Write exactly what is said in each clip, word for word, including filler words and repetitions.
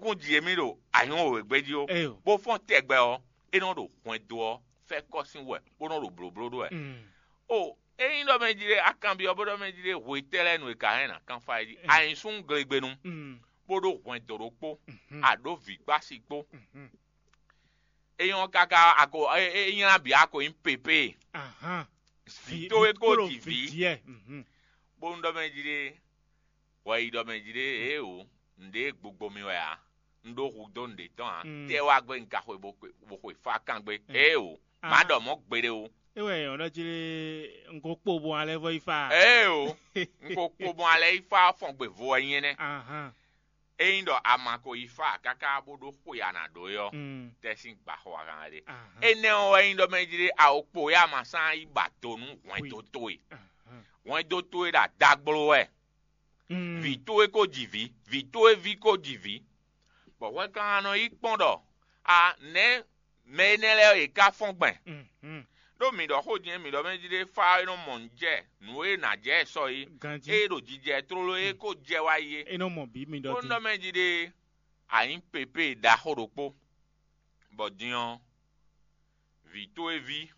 kún ji émí ɖo anyǔ wěwé gbe jí ó, bó fɔ́n tɛgbɛ ɔ́, é nɔ ɖo hwɛndo ɔ́ fɛ́kɔ sín wɛ, bó nɔ ɖo blǒbló ɖó wɛ. O ényí ɖɔ mɛ jí ɖé a kanbyɔ́ bó ɖɔ mɛ jí ɖé hwe tɛ́ lɛ́ɛ nu è ka hɛn nǎ kánfá é jí, a nyí súnnu glegbenu, bó ɖó hwɛndo ɖokpó, a ɖǒ vǐ kpó asi kpó. É nyɔ́ káká a ko é nylá bǐ a ko nyí pépé. Vǐ towe ko ji vǐ, bónú ɖɔ mɛ jí ɖé hwɛ yi ɖɔ mɛ jí ɖé, ée o, nǔɖé gbogbo mi wɛ ǎ, un ɖó hu dó nǔɖé tɔn ǎ. Tɛ́ wá gbé un ka xwe bó xwe fá kan gbé, ée o, má ɖɔ mɔ̌ gbeɖé o. É wɛ nyɔ̌ ɖɔ jí lé, un ko kpo bɔ alɛ vɔ yi fa. Ée o, un ko kpo bɔ alɛ yi fa fɔn gbe vo wɛ nyí énɛ́. Ényí ɖɔ a ma ko yi fá káká bó ɖó xwe a nǎ ɖó é ɔ́, tɛ́ sín gbaxɔ a kan wɛ ɖe. Énɛ́ ɔ́ wɛ nyí ɖɔ mɛ jí ɖé a ko kpo yá ma sán yi ba do nú hwɛndo towe. Hwɛndo towe ɖo adagbló wɛ. Vǐ towe ko ji vǐ, vǐ towe ví ko ji vǐ. Bɔ hwɛkannɔ yi kpɔ́n ɖɔ a nɛ̌ mɛ énɛ́ lɛ́ɛ yě ká fɔ́n gbɛn. Ɖó mǐ ɖɔ xó din mǐ ɖɔ mɛ jí ɖé fá é nɔ mɔ nǔ jɛ nǔ e nǎ jɛ sɔ é, ée ɖo jijɛ tlóló é kó jɛ wá yi é. É nɔ mɔ bǐ mi ɖɔ bó din. Nɔ mɛ jí ɖé a nyǐ pépé ɖaxó ɖokpó, bɔ din ɔ́, vǐ towe ví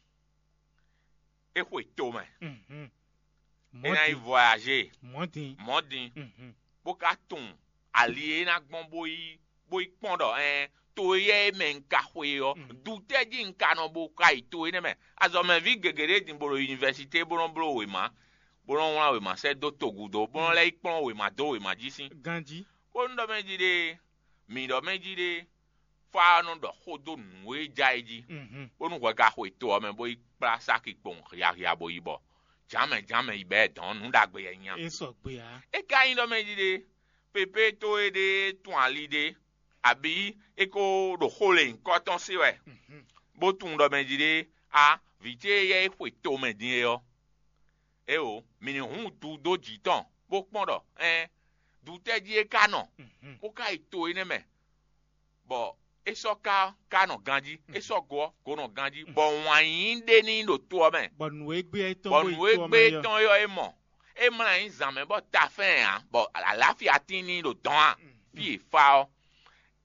é xwe tomɛ. É ná yi voyaze mɔ̌ din. Mɔ̌ din, bó ka tunwun ali e é ná gbɔn bó yi bó yi kpɔ́n ɖɔ ɛɛn to éyɛ́ e mɛ un ka xwe é ɔ́, dutɛ́ jí un ka nɔ bo ka yi to énɛ́ mɛ? Azɔ̌mɛví gěgé ɖé din bo ɖo univɛsité bó nɔ́ bló wěma, bó nɔ́ wlán wěma sɛ́ dó togúdo, bó nɔ́ lɛ́ yi kplɔ́n wěma dó wěma jí sín. Ganjí. Bónú ɖɔ mɛ jí ɖée, mǐ ɖɔ mɛ jí ɖée, fá ɔ́ nɔ ɖɔ xó dó nǔ e ja é jí, bónú hwɛ ka xo e to ɔ́ mɛ bó yi kplá sáki kpowun hiahiabɔyibɔ. Jǎmɛ jǎmɛ yi bɛ́ dɔ̌n nǔ ɖagbe yɛ nya. É sɔgbe ǎ. É ka nyí ɖɔ mɛ jí ɖe, pépé towe ɖé tun ali ɖé, abǐ é ko ɖo xó lě nyǐkɔ tɔn se wɛ, bó tunwun ɖɔ mɛ jí ɖe, a vǐ ce éyɛ́ e xwe tomɛ din é ɔ́, éeǒ, mǐ ní hun du dó jǐ tɔn, bó kpɔ́n ɖɔ, ɛɛn, dutɛ́ jí é ka nɔ, bó ka yi to énɛ́ mɛ, bɔ é sɔ́ ka ka nɔ ganjí, é sɔ́ go ɔ́, go nɔ ganjí, bɔ wǎn yíyí ɖé n'i ɖo to ɔ́ mɛ, bɔ nǔ e gbé ɛ tɔn bɔ bó yi nǔ e to ɔ́ gbé mɛ é ɔ́. Tɔn é ɔ́ é mɔ. É mlá nyí zǎn mɛ bɔ tafɛ́n ǎ, bɔ alǎfia tín n'i ɖo dɔ̌n a? Fí e fá ɔ́,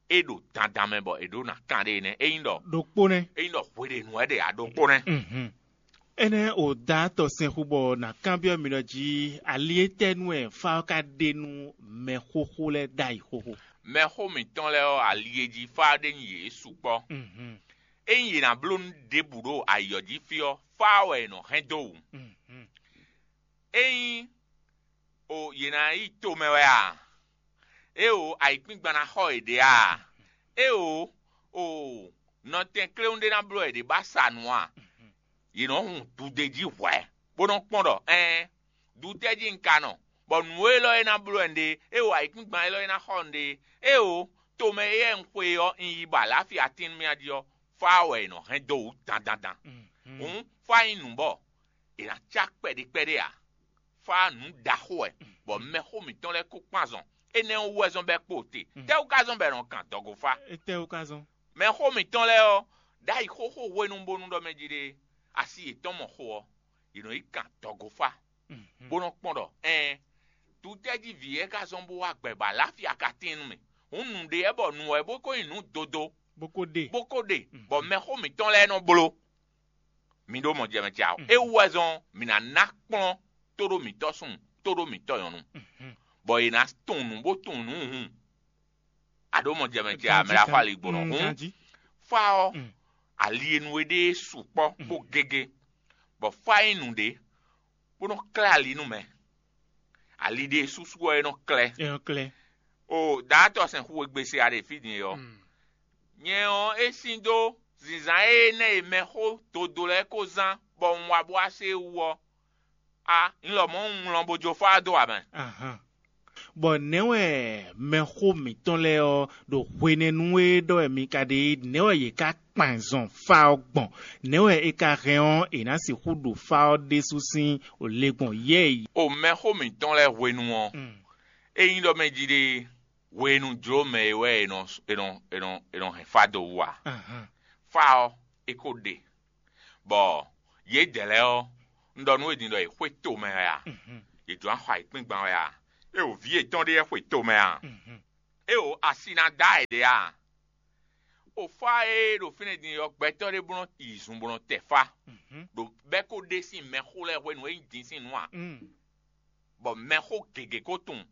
é ɖo dandan mɛ bɔ è ɖǒ ná kan ɖe nɛ́. É nyí ɖɔ ɖokpó nɛ́. É nyí ɖɔ hweɖěnu wɛ ɖe a ɖokpó nɛ́. Énɛ́ o da tɔ sɛnxu bɔ nǎ kanbyɔ́ mi ɖɔ jí ali étɛ́ nú wɛ fá ɔ́ ka ɖe nú mɛ xóxó lɛ́ɛ ɖ'ayǐ xóxó? Mɛxó mǐtɔn lɛ́ɛ ɔ́, ali e jí fá ɖé nyi yě sukpɔ́. Ényí yě ná bló nú ɖěbǔ ɖo ayǐ ɔ́ jí fí ɔ́, fá ɔ́ wɛ è nɔ hɛn dó wǔ. Ényí o yě ná yi tomɛ wɛ a? Éeǒ, ayǐkúngban ná xɔ yěɖée a? Éeǒ, o nɔtɛn kléwún ɖé ná bló yěɖée bó sa nǔ a? Yě nɔ hun dude jí hwɛ̌, bó nɔ́ kpɔ́n ɖɔ ɛɛn, dutɛ́ jí un ka nɔ, bɔ nǔ élɔ́ e ná bló wɛ un ɖe, éeǒ, ayǐkúngban élɔ́ e ná xɔ un ɖe, éeǒ, tomɛ éyɛ́ un xwe ɔ́, un yi bɔ alǎfia tín nú mì a jí ɔ́, fá wɛ è nɔ hɛn dó wǔ dandandan. Hǔn fá nyí nǔ bɔ è nǎ cá kpɛɖé kpɛɖé ǎ. Fá nǔ ɖaxó wɛ, bɔ mɛxó mǐtɔn lɛ́ɛ kó kpán azɔn. Énɛ́ ɔ́ wú wɛ zɔ́n bɔ é kpo te. Tɛ́wú ka zɔ́n bɔ è nɔ kan dɔgofá? Étɛ́wú ka zɔ́n? Mɛxó mǐtɔn lɛ́ɛ ɔ́, ɖ'ayǐ xóxó hwenu bónú ɖɔ mɛ jí ɖe asi yětɔn mɔ xo ɔ́, yě nɔ yi kan dɔgofá, bó nɔ́ kpɔ́n ɖɔ ɛɛn, dutɛ́ jí vǐ wɛ ka zɔ́n bó wá gbɛ bɔ alǎfia ka tín nú mì. Hǔn nǔɖé wɛ bɔ nǔ wɛ bó ko nyí nǔ dodo, bó ko ɖe. Bó ko ɖe, bɔ mɛxó mǐtɔn lɛ́ɛ nɔ bló. Mi ɖó mɔ jɛ mɛ ce ǎ. É wú wɛ zɔn mǐ ná ná kplɔ́n tóɖó mǐtɔn súnnu, tóɖó mǐtɔn nyɔ̌nu, bɔ è nǎ tunwun nǔ bó tunwun nǔ hun. A ɖǒ mɔ jɛ mɛ ce ǎ, mɛ ɖaxó ali gbɔn hǔn. Fá ɔ́, ali e nu é ɖe sukpɔ́ bó gégé, bɔ fá nyí nǔɖé, bó nɔ klɛ́ ali nú mɛ. Ali ɖe súsú ɔ́ é nɔ klɛ́. É nɔ klɛ́. O daatɔ sɛn xu e gbe se a ɖe fí din é ɔ́, nyɛ ɔ́ é sín dó zǐnzán énɛ́ e mɛxó dodo lɛ́ɛ ko zán bɔ un wá bó wá se é wú ɔ́, a un lɔmɔ̌ un wlán bó jó fá dó ǎ mɛ. Bɔ nɛ̌ wɛ mɛxó mǐtɔn lɛ́ɛ ɔ́ ɖo hwenɛ́nu e ɖɔ wɛ mi ka ɖe é, nɛ̌ wɛ yě ká kpan zɔn fá ɔ́ gbɔn? Nɛ̌ wɛ é ka hɛn ɔ́, è nǎ sixú ɖo fá ɔ́ ɖésú sín le gbɔn yɛ́ e? O mɛxó mǐtɔn lɛ́ɛ hwenu ɔ́, ényí ɖɔ mɛ jí ɖe hwenu jló mɛ e wɛ è nɔ è nɔ è nɔ è nɔ hɛn fá dó wú ǎ. Fá ɔ́, é ko ɖe, bɔ yědɛɛ lɛ́ɛ ɔ́, un ɖɔ nú we din ɖɔ è xwe tomɛ wɛ a? Yě jló ná xɔ ayǐkúngban wɛ a? É o vǐ yětɔn ɖé wɛ xwe tomɛ a? É o asi ná dá ɛ ɖě a? Ofá e ɖo fínɛ́ din ɔ́, gbɛtɔ́ ɖé bó nɔ yi zun bó nɔ tɛ fá, ɖo bɛ́ ko ɖe sín mɛxó lɛ́ɛ hwenu e nyí din sín nǔ a? Bɔ mɛxó gěgé ko tunwun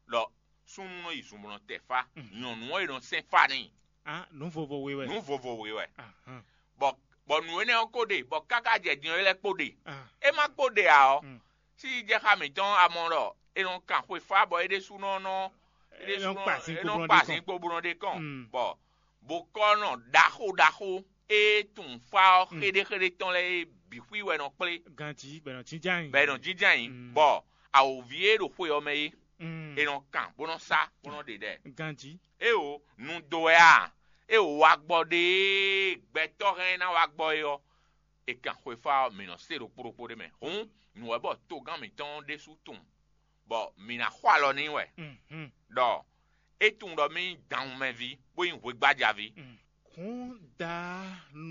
ɖɔ súnnu nɔ yi zun bó nɔ tɛ fá, nyɔ̌nu ɔ́ e nɔ sɛn fá n'i. Ah, nǔ vovo we wɛ. Nǔ vovo we wɛ. Ahan. Bɔ bɔ nǔ énɛ́ ɔ́ ko ɖe, bɔ káká jɛ din ɔ́, é lɛ́ kpo ɖe. Ah. É má kpo ɖe ǎ ɔ́, Mm. sí jɛ xá mǐtɔn a mɔ ɖɔ è nɔ kan xwefá bɔ é ɖésúnɔ nɔ É nɔ kpa sin é kpo nɔ bó nɔ kpa ɖe sin kɔn. Kpo bó nɔ ɖe kɔn. Mm. Bɔ bokɔ́nɔ ɖaxó ɖaxó e tunwun fá ɔ́ Mm. xéɖéxéɖé tɔn lɛ́ɛ é bǐ xwí wɛ nɔ kplé. Ganjí bɛ nɔ jínján yìí. Bɛ nɔ jínján yìí. Mm. Bɔ awǒvi e ɖo xwe ɔ́ mɛ é, Mm. è nɔ kan bó nɔ sá bó nɔ ɖe ɖɛ. Ganjí. Éeǒ, nu dó wɛ a? Éeǒ, wagbɔ ɖe e gbɛtɔ́ hɛn ná wá gbɔ é ɔ́, è kan xwefá ɔ́, mǐ nɔ se ɖokpó ɖokpó ɖé mɛ. Hǔn, nǔ wɛ bɔ togán mǐtɔn ɔ́ ɖésú tunwun, bɔ mǐ ná xɔ alɔ n'i wɛ, Mhm. Ɖɔ é tunwun ɖɔ mì nyí danwunmɛví, bó nyí hwegbájaví. Hǔn da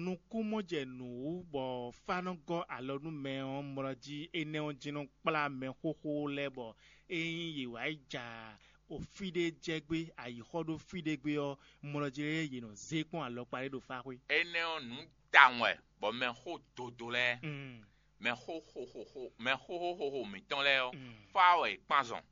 nukúnmɔjɛnǔ wú bɔ fá nɔ gɔ́ alɔ nú mɛ ɔ́ mlɔ jí énɛ́ ɔ́ jí nɔ kplá mɛxóxó lɛ́ɛ bɔ ényí yě wá yi ja o fí ɖé jɛ gbé, ayǐxɔ ɖó fí ɖé gbé ɔ́, mlɔ jí lɛ́ɛ yě nɔ zé kpɔ́n alɔkpa ɖé ɖo fáxwé. Énɛ́ ɔ́, nǔ tawun wɛ bɔ mɛxó dodo lɛ́ɛ, Mm. mɛxó xóxóxó mɛxóxóxóxó mǐtɔn lɛ́ɛ ɔ́, Mm. fá wɛ è kpán zɔn,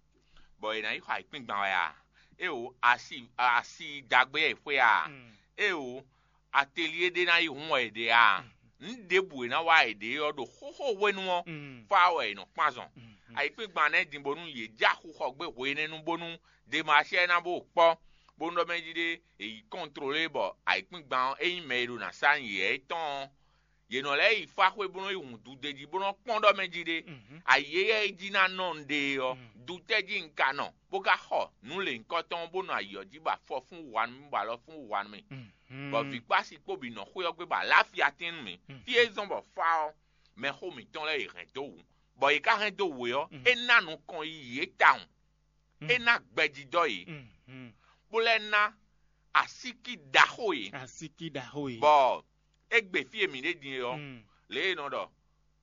bɔ è nǎ yi xɔ ayǐkúngban wɛ a? Éeǒ, asi asi dagbe wɛ è xwe a? Mm. Éeǒ, atelier ɖé ná yi hun wɛ è ɖe a? Mm. Nǔ ɖěbǔ e ná wa è ɖe ɔ́ ɖo xóxó hwenu ɔ́, Mm. fá wɛ è nɔ kpán zɔn. Mm. Ayǐkúngban nɛ́ din bónú yě já xixɔ gbé hwe énɛ́ nu bónú Demasɛ́ ná bó kpɔ́, bónú ɖɔ mɛ jí ɖé è yi kɔntlolé bɔ ayǐkúngban ɔ́, ényí mɛ e ɖo nǎ sa nyi yɛ étɔn ɔ́, yě nɔ lɛ́ yi fá xwé bó nɔ́ yi hun dude jí bó nɔ́ kpɔ́n ɖɔ mɛ jí ɖé. Mhm. Ayǐ éyɛ́ e jí ná nɔ un ɖe é ɔ́, Mm. dutɛ́ jí un ka nɔ, bó ka xɔ nǔ lěhunkɔtɔn ɔ́, bó nɔ ayǐ ɔ́ jí bɔ afɔ fún wa nú mì, bɔ alɔ fún wa nú mì. Mhm. Bɔ vǐkpási kpó bǐ nɔ xwé ɔ́ gbé bɔ alǎfia tín nú mì. Mm. Fí e zɔ́n bɔ fá ɔ́, mɛxó mǐtɔn lɛ́ɛ è hɛn dó wǔ, bɔ yě ka hɛn dó wǔ é ɔ́, Mm. é ná nukɔn yiyi yě tawun. Mm. É ná gbɛjidɔ yě, Mhm. bó lɛ́ ná asíkí ɖaxó yě, Asíkí ɖaxó e. Bɔ é gbe fí e mǐ ɖe din é ɔ́, Mm. lě e è nɔ ɖɔ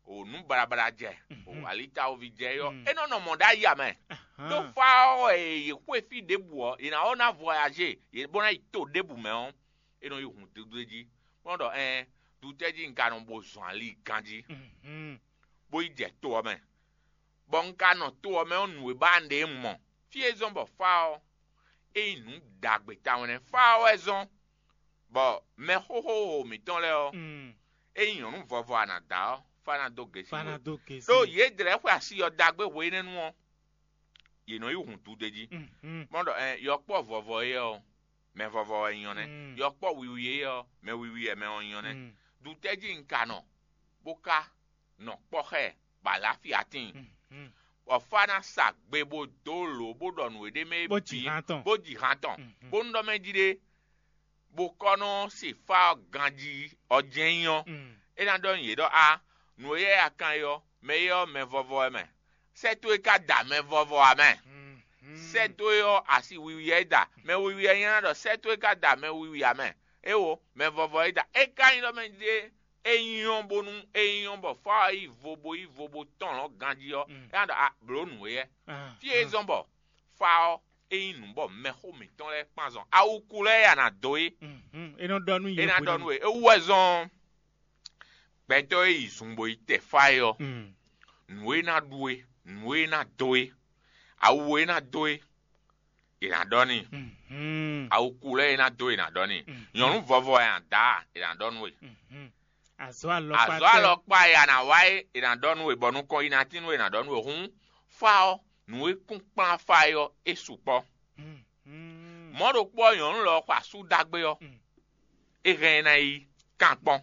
o nǔ baɖabaɖa jɛ, o Mhm. alitawovi jɛ é ɔ́, Mm. é nɔ nɔ mɔ̌ ɖ'ayǐ ǎ mɛ. Ahán. Ɖó fá ɔ́ wɛ è yi xwé fí ɖěbǔ ɔ́, è nǎ ɔ́ ná vɔyazé yě bó ná yi to ɖěbǔ mɛ ɔ́, é nɔ yi hun dúdú jí, bó nɔ́ ɖɔ ɛɛn, dutɛ́ jí un ka nɔ bo zɔn ali ganjí, Mhm. bó yi jɛ to ɔ́ mɛ, bɔ un ka nɔ to ɔ́ mɛ ɔ́, nǔ e ba un ɖe un mɔ. Fí e zɔ́n bɔ fá ɔ́, é nyí nǔ ɖagbe tawun nɛ́. Fá ɔ́ wɛ zɔ́n bɔ mɛxóxó mǐtɔn lɛ́ɛ ɔ́, Mm. é nyí nyɔ̌nu vɔvɔ a nǎ da ɔ́, fá ná dó gěsí Fá we. Ná dó gěsí. Ɖó yě dlɛ̌ xwe asi ɔ́ dagbe hwe énɛ́ nu ɔ́, yě nɔ yi hun dudé jí. Mhm. Mɔ ɖɔ ɛ yɔkpɔ́ vɔvɔ é ɔ́, mɛ vɔvɔ wɛ nyɔ nɛ́. Mm. Yɔkpɔ́ wiwi é ɔ́, mɛ wiwi wɛ mɛ ɔ́ nyɔ nɛ́. Mm. Dutɛ́ jí un ka nɔ, bó ka nɔ kpɔ́ xá ɛ, bɔ alǎfia tíin. Mhm. Bɔ fá ná sa gbe bó dó lǒ bó ɖɔ nǔ e ɖ'é mɛ é Bó ji bǐ, han tɔn. Bó ji han tɔn. Mhm. Bónú ɖɔ mɛ jí ɖé, bó kɔ́ nɔ se fá ɔ́ ganjí ɔ́ jɛ́n nyí ɔ́, Mm. é ná ɖɔ nú yě ɖɔ a, nǔ e yɛ a kan é ɔ́, mɛ é ɔ́ mɛ vɔvɔ wɛ mɛ. Sɛ́ towe ka da mɛ vɔvɔ ǎ mɛ. Mhm. Sɛ́ towe ɔ́ asi wiwi wɛ é da. Mɛ wiwi wɛ nyí ná ɖɔ sɛ́ towe ka da mɛ wiwi ǎ mɛ. Éwo, mɛ vɔvɔ é da. É ka nyí ɖɔ mɛ ɖé é nyɔ́ bónú é nyɔ́ bɔ fá ɔ́ yi vo bo yi vo bo tɔn lɔ̌ ganjí ɔ́, Mm. é ná ɖɔ a blǒ nǔ éyɛ́. Ah, Fí e ah. Zɔ́n bɔ fá ɔ́, é nyí nǔ bɔ mɛxó mǐtɔn lɛ́ɛ kpan zɔn. Awuku lɛ́ɛ ya ná dó é. Mhm. É nɔ ɖɔ nú yě É ná ɖɔ hwenu. Nú we. É wú wɛ zɔ́n gbɛtɔ́ e yi zun bo yi tɛ fá é ɔ́, Mm. Nǔ e ná ɖu é, nǔ e ná dó é, awu e ná dó é, è nǎ ɖɔ n'i. Mhm. Awuku lɛ́ɛ e ná dó é, è nǎ ɖɔ n'i. Mhm. Nyɔ̌nu vɔvɔ e a nǎ da, è nǎ ɖɔ nú we. Mhm. Azɔ̌ alɔkpa Azɔ̌ tɛ́. Alɔkpa e a nǎ wa é, è nǎ ɖɔ nú we, bɔ nukɔn yi ná tín nú we, è nǎ ɖɔ nú we. Hǔn, fá ɔ́, nǔ e kún kplán fá é ɔ́, é sukpɔ́. Mhm. Mɔ̌ ɖokpó ɔ́, nyɔ̌nu lɔ xɔ asú dagbe ɔ́, Mm. é hɛn ɛ ná yi kan kpɔ́n.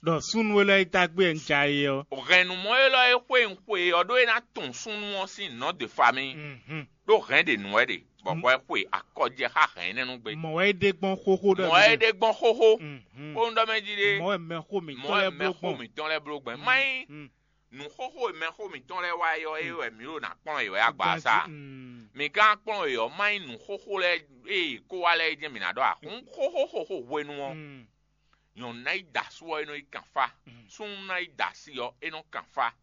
Ɖɔ súnnu élɔ́ e dagbe un ja é ɔ́. Hɛn nǔ mɔ élɔ́ e xwe un xwe ɔ́ ɖó é ná tunwun súnnu ɔ́ sín nɔ̌ de famille. Mhm. Ɖó hɛn ɖe nǔ wɛ ɖe, bɔ hwɛ xwe akɔjɛ xá hɛn énɛ́ nú gbe. Mɔ̌ wɛ é ɖe gbɔn xóxó ɖɔ Mɔ̌ wɛ é ɖe gbɔn xóxó. Mhm. Kpónú ɖɔ mɛ jí ɖe. Mɔ̌ wɛ mɛxó Mɔ̌ mǐtɔn wɛ lɛ́ɛ bló mɛxó gbɔn. Mǐtɔn lɛ́ɛ bló gbɔn. Mm. Má nyí Mm. Nǔxóxó e mɛxó mǐtɔn lɛ́ɛ wa é ɔ́, é wɛ mǐ ɖo nǎ kplɔ́n yě wɛ agbaasa. Ganjí, mm. Mǐ ka kplɔ́n yě ɔ́, má nyí nǔxóxó lɛ́ɛ e yě kó wá lɛ́ɛ é jɛ́n mǐ ná ɖɔ ǎ. Hǔn xóxó xóxó hwenu ɔ́, Mm. Nyɔ̌nu ná yi da asú ɔ́, é nɔ yi kan fá. Mm. Súnnu ná yi da asi ɔ́, é nɔ kan fá.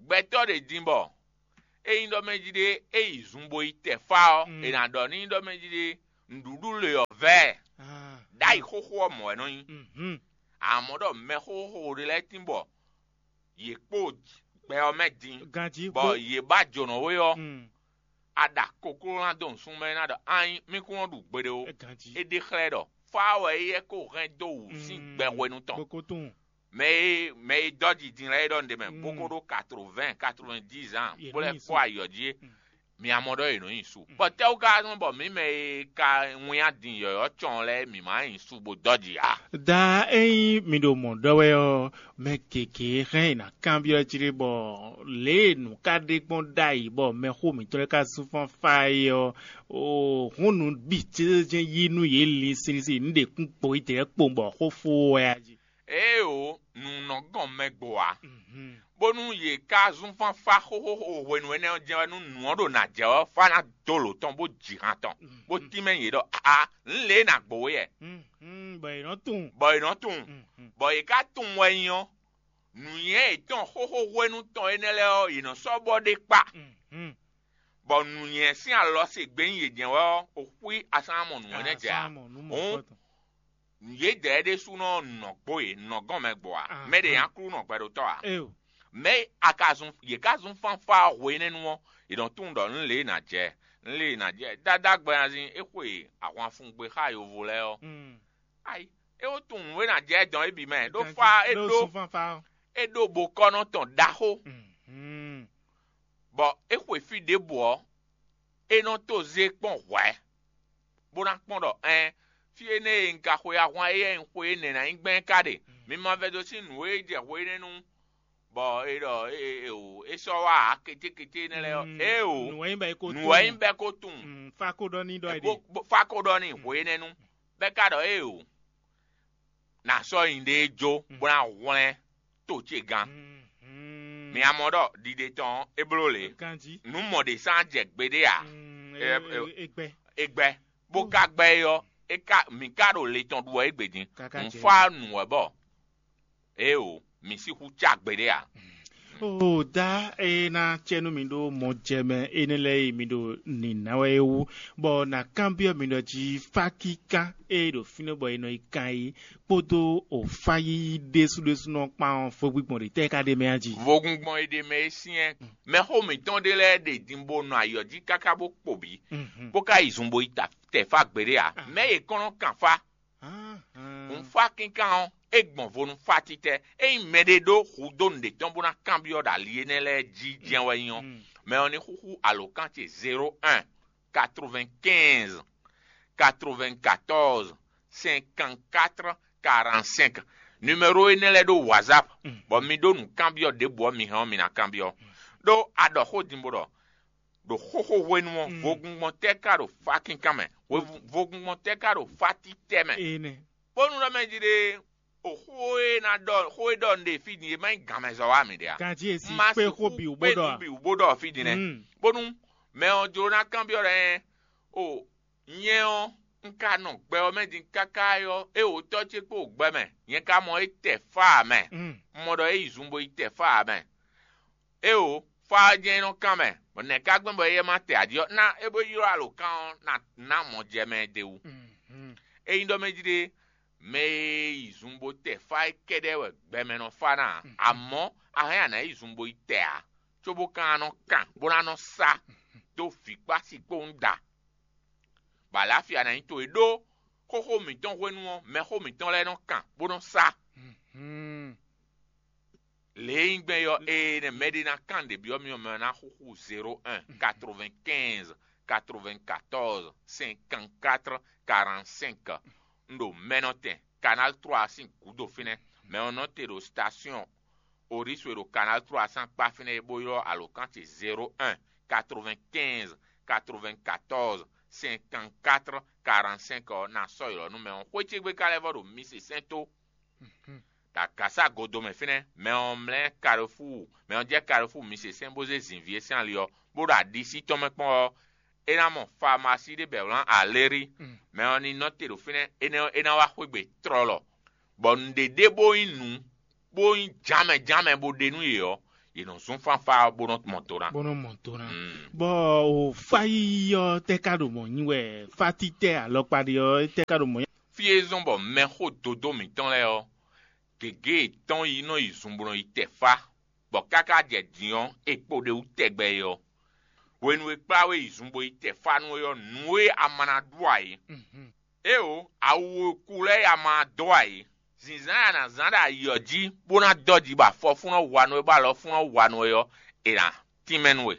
Gbɛtɔ́ ɖě din bɔ Ényí ɖɔ mɛ jí ɖé é yi zun bo yi tɛ fá ɔ́, è nǎ ɖɔ n'i ɖɔ mɛ jí ɖé nǔɖuɖu le ɔ́ vɛ ɛ. Ɖ'ayǐ xóxó ɔ́ mɔ̌ wɛ nɔ nyí. Amɔ̌ ɖɔ mɛ xóxó ɖé lɛ́ɛ tín bɔ yě kpo gbɛ ɔ́ mɛ din, Ganjí bɔ yě ba jǒnɔ we ɔ́, a ɖa kokló ná dó nǔsúnnú mɛ ná ɖɔ anyi mí kún nɔ ɖu gbeɖé ó. Ganjí. É ɖe xlɛ́ ɖɔ fá wɛ éyɛ́ ko hɛn dó wǔ sín gbɛ hwenu tɔn. Bó ko tunwun. Mɛ e mɛ e dɔ́ jijin lɛ́ɛ é ɖɔ nǔɖé mɛ, bó ko ɖó quatre-vingts, quatre-vingt-dix ans, bó lɛ́ kpɔ́ ayǐ ɔ́ jí é. Mi a mɔ ɖɔ è nɔ nyi su. Bɔ tɛ́wú ka nɔ bɔ mǐ mɛ e ka wínnyá din yɔ̌yɔ́ cɔn lɛ́ɛ mǐ ma nyi su bó dɔ́ jǐ a? Da ényí mi ɖo mɔ̌ ɖɔ wɛ ɔ́, mɛ gěgé hɛn è nǎ kanbyɔ́ jí ɖé bɔ lě e nǔ ka ɖe gbɔn ɖ'ayǐ bɔ mɛxó mǐtɔn lɛ́ɛ ka zún fánfá é ɔ́, hǔn nǔ bǐ jɛ́njɛ́n yí nú yě linsin nú ɖě kún kpo yi dɛ̌ kpowun bɔ xó fó wɛ a jí. Éeǒ, nǔ nɔ gɔn mɛ gbo ǎ, bónú yě ka zún fánfá xóxóxó hwenu énɛ́ ɔ́ jɛ́n wɛ nú nǔ ɔ́ ɖo nǎ jɛ ɔ́ fá ná dó lǒ tɔn bó ji han tɔn, bó tínmɛ yě ɖɔ a nǔ lě e nǎ gbo é yɛ. Bɔ è nɔ tunwun. Bɔ è nɔ tunwun, bɔ yě ka tunwun wɛ nyi ɔ́, nǔnywɛ́ yětɔn xóxó hwenu tɔn énɛ́ lɛ́ɛ ɔ́, yě nɔ sɔ́ bɔ ɖé kpá. Bɔ nǔnywɛ́ sín alɔ se gbe nyi yě jɛ́n wɛ ɔ́, o xwí a sán mɔ nǔnywɛ́ nɛ́ jɛ ǎ. Hǔn yědɛɛ ɖésúnɔ nɔ gbo yě nɔ gɔn mɛ gbɔ ǎ. Mɛ ɖě nyí Aklúnɔ gbɛɖotɔ́ ǎ. Mɛ e a ka zun yě ka zun fánfá hwenɛ́nu ɔ́, è nɔ tunwun ɖɔ nǔ lě e nǎ jɛ nǔ lě e nǎ jɛ. Dadá gbɛnazin é xwe ahwanfugbé xá yovo lɛ́ɛ ɔ́, ayi é wó tunwun nǔ e nǎ jɛ dɔn é bǐ mɛ ɖó fá é ɖó é ɖó bokɔ́nɔ tɔn ɖaxó, bɔ é xwe fí ɖěbǔ ɔ́, é nɔ tó zé kpɔ́n hwɛ̌, bó ná kpɔ́n ɖɔ ɛn fí énɛ́ e un ka xwe ahwan éyɛ́ un xwe énɛ́ ná nyí gbɛn ka ɖe. Mi ma vɛdó sín nǔ e jɛ hwe énɛ́ nu, bɔ è ɖɔ é sɔ́ wá ǎ kétékété énɛ́ lɛ́ɛ ɔ́. Éeǒ, nǔ wɛ nyí bɔ é ko tunwun. Fá ko ɖɔ n'i ɖɔ é ɖe. Fá ko ɖɔ n'i hwe énɛ́ nu, bɔ é ka ɖɔ éeǒ, nǎ sɔ́ nyiɖée jó bó ná hwlɛ́n to ce gán. Mi a mɔ ɖɔ ɖiɖe tɔn ɔ́, é bló lě. Ganjí. Nǔ mɔ ɖě sán jɛ gbeɖé ǎ. Mm, Ɛ- e- ɛ- e- e gbɛ. É gbɛ, bó ka gbɛ é ɔ́, é ka mǐ ka ɖo le tɔn ɖu wɛ égbé din. Káká Un jɛ. Fá nǔ wɛ bɔ éeǒ, mǐ sixú cá gbeɖé ǎ. O da e ná cɛ nú mi ɖó mɔ jɛ mɛ énɛ́ lɛ́ɛ e mi ɖo nǐná wɛ é wú, bɔ nǎ kanbyɔ́ mi ɖɔ jí fá kíkán e ɖo fínɛ́ bɔ è nɔ yi kan é kpódó o fá yíyí ɖésúɖésúnɔ kpán ɔ́, fó gbígbɔn ɖě tɛ́ ka ɖ'é mɛ a jí? Vogun gbɔn e ɖe mɛ é syɛ́n. Mɛxó mǐtɔn ɖé lɛ́ɛ ɖe din bó nɔ ayɔ jí káká bó kpo bǐ, bó ka yi zun bo yi ta tɛ fá gbeɖé ǎ. Mɛ̌ e kɔn nɔ kan fá? Nǔfákínkán ɔ́, é gbɔn vo nú fá títɛ́. Ényí mɛɖé ɖó hudó nǔɖé tɔn bó ná kanbyɔ́ ɖo ali énɛ́ lɛ́ɛ jí jɛ́n wɛ nyí ɔ́, mɛ ɔ́ ní xúxú alǒkan ce zéro un, quatre-vingt-quinze, quatre-vingt-quatorze, cinquante-quatre, quarante-cinq. Numéro énɛ́ lɛ́ɛ ɖó WhatsApp, bɔ mi ɖó nǔkanbyɔ́ ɖěbǔ ɔ́, mi hɛn ɔ́, mi ná kanbyɔ́. Ɖó a ɖɔ xó din bó ɖɔ, ɖo xóxó hwenu ɔ́, vogungbɔn tɛ́ ka ɖo fákínkán mɛ? Hwe- Vogungbɔn tɛ́ ka ɖo fátítɛ́ mɛ? Bónú ɖɔ mɛ jí ɖe, o xó e ná ɖɔ xó e ɖɔ un ɖe fí din e má nyí gǎnmɛzɔ́ wá mì ɖe a? Ganjí e sí Ma kpé sixú xó bǐ wú bó kpé ɖɔ nǔ a? Bǐ wú bó ɖɔ fí din nɛ́. Bónú mɛ ɔ́ jló ná kanbyɔ́ ɖɔ ɛ o nyɛ ɔ́, un ka nɔ gbɛ ɔ́ mɛ din káká é ɔ́, é wǒ tɔ́ ce kpó gbɛ mɛ, nyɛ ka mɔ é tɛ fá ǎ mɛ. Un mɔ ɖɔ é yi zun bo yi tɛ fá ǎ mɛ. Éeǒ, fá ɔ́ jɛ́n é nɔ kán mɛ, bɔ nɛ̌ ka gbɛn bɔ éyɛ́ ma tɛ aɖi ɔ́, ná é bó ylɔ́ alǒkan ɔ́ ná ná mɔ jɛ mɛ ɛ d'é wú. Ényí ɖɔ mɛ jí ɖe, mɛ e yi zun bó tɛ fá é kɛ́ɖɛ́ wɛ gbɛmɛ nɔ fá ná ǎ. Amɔ̌, a hɛn a nǎ yi zun bo yi tɛ ǎ, cóbó ka ná nɔ kan, bó ná nɔ sá dó vǐ kpó asi kpowun da. Bɔ alǎfia ná nyí towe ɖó xóxó mǐtɔn hwenu ɔ́, mɛxó mǐtɔn lɛ́ɛ nɔ kan, bó nɔ sá. Lě e nyí gbɛn ɔ́, ée nɛ́ mɛɖé ná kan ɖě byɔ́ mì ɔ́, mɛ ɔ́ ná xúxú zéro un, quatre-vingt-quinze, quatre-vingt-quatorze, cinquante-quatre, quarante-cinq. Un ɖo mɛnɔtɛn Canal trois sín gǔdo fínɛ́. Mɛ ɔ́ nɔ te ɖo station Orísu e ɖo Canal trois sín akpá fínɛ́ é bó ylɔ́ alǒkan ce zéro un, quatre-vingt-quinze, quatre-vingt-quatorze, cinquante-quatre, quarante-cinq ɔ́, ná sɔ́ ylɔ́ nú mɛ ɔ́. Xwé ce gbe ka lɛ́ vɔ ɖo mi se sɛ́n tó. Ɖagǎsa godo mɛ fínɛ́, mɛ ɔ́ mlɛ́ Kalefúu, mɛ ɔ́ jɛ Kalefúu mi se sɛ́n bó zé zǐnví e sín ali ɔ́, bó ɖo aɖisí tɔn mɛ kpɔ́n ɔ́, é ná mɔ famasí ɖé bɔ è wlán Alérí. Mɛ ɔ́ ní nɔ te ɖo fínɛ́, énɛ́ ɔ́, é ná wá xwé gbe tlɔlɔ, bɔ nǔɖé ɖé bó nyí nǔ, bó nyí jǎnmɛ jǎnmɛ bó ɖe nú yě ɔ́, yě nɔ zún fánfá ɔ́ bó nɔ mɔ do ná. Bó nɔ mɔ do ná. Mm. Bɔ o fá yíyí ɔ́ tɛ́ ka ɖo mɔ̌ nyi wɛ? Fátítɛ́ alɔkpa ɖé ɔ́ tɛ́ ka ɖo mɔ̌ nyi? Fí e zɔ́n bɔ mɛxó dodó mǐtɔn lɛ́ɛ ɔ́, gěgé yětɔn yi nɔ yi zun bó nɔ yi tɛ fá, bɔ káká jɛ din ɔ́, è kpo ɖ'é wú tɛgbɛ é ɔ́, hwenu e kplá we yi zun bo yi tɛ fá nú é ɔ́, nǔ e a ma ná ɖu ǎ é. Éeǒ, awu e ku lɛ́ɛ a ma ná dó ǎ é. Zǐnzán e a nǎ zán ɖo ayǐ ɔ́ jí, bó ná dɔ́ ji bɔ afɔfúnɔ wa nú we, bɔ alɔfúnɔ wa nú we ɔ́, è nǎ tínmɛ nú we.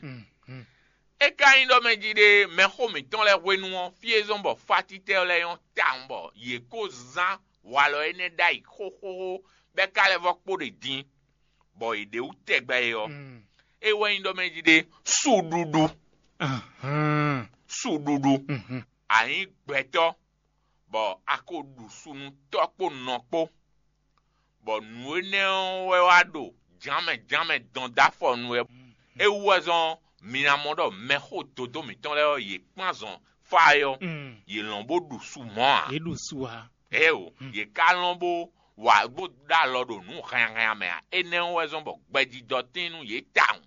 É ka nyí ɖɔ mɛ jí ɖe mɛxó mǐtɔn lɛ́ɛ hwenu ɔ́, fí e zɔ́n bɔ fátítɛ́ lɛ́ɛ nyɔ́ tawun bɔ yě ko zán walɔ énɛ́ ɖ'ayǐ xóxóxó, bɔ é ka lɛ́ vɔ́ kpo ɖe din, bɔ yě ɖe wú tɛgbɛ é ɔ́, é wɛ nyí ɖɔ mɛ jí ɖe suɖuɖu. Suɖuɖu. A nyǐ gbɛtɔ́, bɔ a ko ɖu su nú tɔ́ kpó nɔ kpó, bɔ nǔ énɛ́ ɔ́ wɛ wá ɖo jǎnmɛ jǎnmɛ dɔn dó afɔ nú wɛ. É wú wɛ zɔ́n mi ná mɔ ɖɔ mɛxó dodó mǐtɔn lɛ́ɛ ɔ́, yě kpán zɔn fá é ɔ́, yě lɔn bó ɖu su mɔ̌ ǎ. Yě ɖu su ǎ. Eo, yě ka lɔn bó wa bó ɖó alɔ ɖo nǔ hɛnhɛn mɛ ǎ. Énɛ́ ɔ́ wɛ zɔ́n bɔ gbɛjidɔ tín nú yě tawun.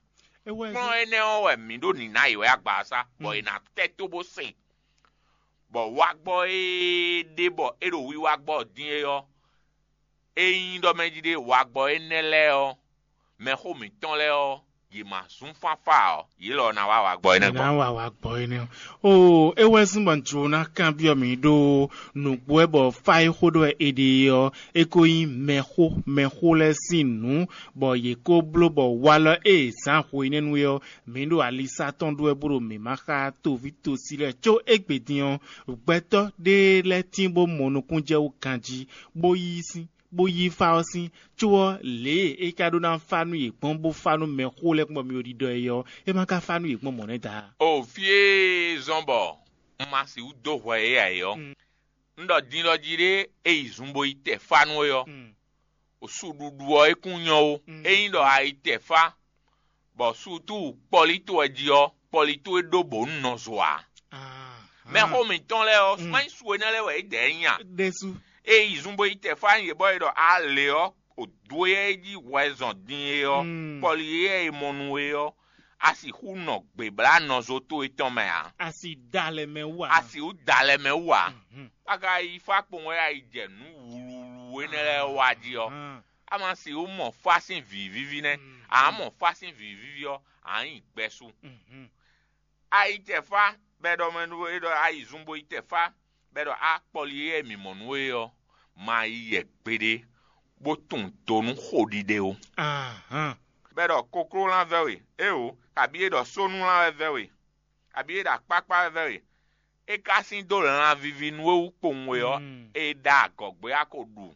É wɛ Kplɔ́n énɛ́ ɔ́ wɛ mǐ ɖo nǐ ná yě wɛ agbaza, bɔ è nǎ tɛ́ tó bó se, bɔ wagbɔ́ e ɖe bɔ é ɖo wiwa gbɔ din é ɔ́, é nyí ɖɔ mɛ jí ɖe wagbɔ́ énɛ́ lɛ́ɛ ɔ́, mɛxó mǐtɔn lɛ́ɛ ɔ́, yě ma zún fánfá ǎ ɔ́, yě lɔ ná wá wagbɔ́ énɛ́ Ná gbɔn. Wa wa gbɔ énɛ́. O, é wɛ zún bɔ jǒ ná kanbyɔ́ mǐ ɖó nǔgbó wɛ bɔ fá e xó ɖɔ wɛ è ɖe ɔ́, é ko nyí mɛxó mɛxó lɛ́ɛ sín nǔ, bɔ yě ko bló bɔ walɔ e è zǎn hwenɛ́nu é ɔ́, mǐ ɖo alisá tɔn ɖó wɛ bó ɖo mǐ ma xá toví tosi lɛ́ɛ có égbé din ɔ́, gbɛtɔ́ ɖé lɛ́ɛ tín bó mɔ nukúnnú jɛ wú ganjí, bó yí sín, bó yí fá ɔ́ sín, có ɔ́, lě e é ka ɖó ná fá nú yě gbɔn bó fá nú mɛxó lɛ́ɛ kpɔ́n mì ɖiɖɔ é ɔ́, é ma ka fá nú yě gbɔn mɔ̌ nɛ́ da. O fí e zɔ́n bɔ un ma sixú dó hwɛ é ǎ é ɔ́, un ɖɔ din lɔ jí ɖé é yi zun bo yi tɛ fá nú é ɔ́, suɖuɖu ɔ́ é kún nyɔ́ ó. Ényí ɖɔ a yi tɛ fá, bɔ sutu kpɔlí towe jí ɔ́, kpɔlí towe ɖó bǒ un nɔ zo ǎ. Mɛxó mǐtɔn lɛ́ɛ ɔ́, má nyí su énɛ́ lɛ́ɛ wɛ é dɛ̌ nyí a? Ɖésú. É yi zun bo yi tɛ fá nyi yě bɔ é ɖɔ a lě ɔ́, o dó e jí hwɛ zɔn din é ɔ́, kpɔlí e è mɔ nú é ɔ́, a sixú nɔ gběblánɔzo towe tɔn mɛ ǎ. A si da lɛ mɛ wú ǎ. A sixú da lɛ mɛ wú ǎ. A ka yi fá kpowun wɛ a yi jɛ nǔ wluwlu énɛ́ lɛ́ɛ wa jí ɔ́, a ma sixú mɔ fá sín vǐ víví nɛ́. A mɔ fá sín vǐ víví ɔ́, a nyí gbɛsu. A yi jɛ fá bɔ è ɖɔ mɛ nú é ɖɔ a yi zun bo yi tɛ fá, bɔ è ɖɔ a kpɔli e mǐ mɔ nú we ɔ́, ma yi yɛ gbeɖé, bó tunwun do nú xo ɖiɖe ó. Bɔ è ɖɔ kokló lán vɛ́ we, éeǒ, kabí è ɖɔ sónú lán wɛ vɛ́ we, kabí è ɖɔ akpákpá wɛ vɛ́ we, é ka sín dó lanvíví nú we wú kpowun we ɔ́, é ɖa agɔ̌gbé a ko ɖu